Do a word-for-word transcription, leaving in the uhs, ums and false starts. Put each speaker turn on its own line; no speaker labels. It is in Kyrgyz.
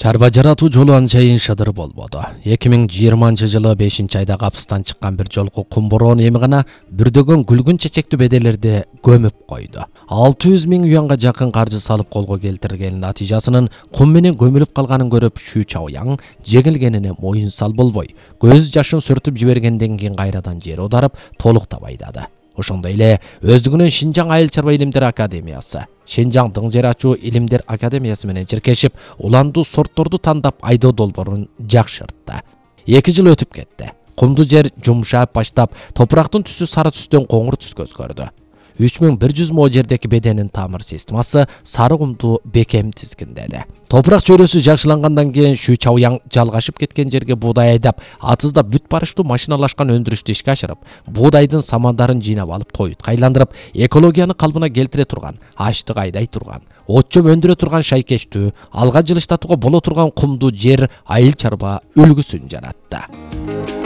Чарба жаратуу жолу анчайын шыдыр болбоду. эки миң жыйырманчы жылы бешинчи айда капыстан чыккан бир жолку кум бороон эми гана бүрдөгөн күлгүн чечектүү беделерди көмүп койду. алты жүз миң юанга жакын каржы салып колго келтирген натыйжасынын кум менен көмүлүп калганын көрүп Шу Чаояң жеңилгенине моюн сал болбой, көз жашын сүртүп жибергенден кийин кайрадан жер аударып толуктап айдады. Ошондой эле өздүгүнөн Шинжаң айыл чарба илимдер академиясы, Шинжаң дың жер ачуу илимдер академиясы менен чиркешип, уландуу сортторду тандап айдоо долбоорун жакшыртты. эки жыл өтүп кетти. Кумду жер жумшап баштап, топурактын түсү сары түстөн коңур түскө өзгөрдү. үч миң бир жүз мо жердеки беденин тамыр системасы сары кумду бекем тизгиндеди. Топурак чөйрөсү жакшылангандан кийин Шу Чаояң жалгашып кеткен жерге буудай айдап, атызда бүт барыштуу машиналашкан өндүрүштү ишке ашырып, буудайдын самандарын жыйнап алып тоютка айландырып, экологияны калыбына келтире турган, ачтык айдай турган, от жөм өндүрө турган шайкештүү, алга жылыштатууга боло турган кумду жер айыл чарба үлгүсүн жаратты.